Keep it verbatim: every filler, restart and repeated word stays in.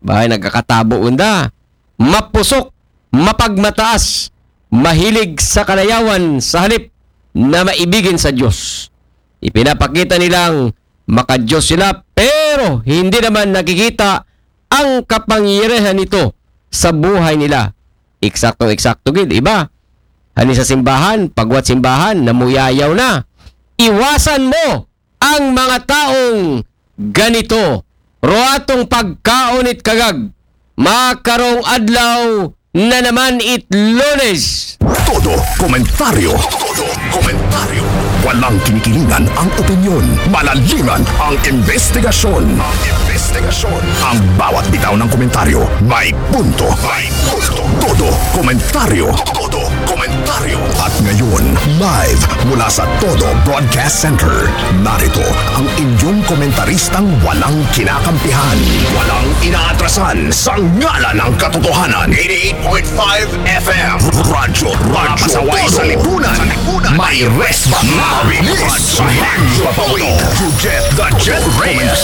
Bahay nagkakatabo unda. Mapusok, mapagmataas, mahilig sa kalayawan sa halip na maibigin sa Diyos. Ipinapakita nilang makadiyos sila, pero hindi naman nakikita ang kapangyarihan nito sa buhay nila. Eksakto-eksakto gid, iba. Hani sa simbahan, pagwat simbahan, namuyayaw na. Iwasan mo ang mga taong ganito. Roatong pagkaon it kagag. Makarong adlaw na naman it Lunes. Todo komentaryo. Todo komentaryo. Walang kinikilingan ang opinyon. Malaliman ang investigasyon. Ang investigasyon. Ang bawat bitaw ng komentaryo may punto. May punto. Todo komentaryo. Todo komentaryo. At ngayon, live mula sa Todo Broadcast Center, narito ang inyong komentaristang walang kinakampihan, walang inaatrasan sa ngalan ng katotohanan. Eighty-eight point five F M. Radyo, Radyo Pasaway sa Todo. Lipunan. May resba. Mabilis. Magpapawid. You get the Jet Reyes.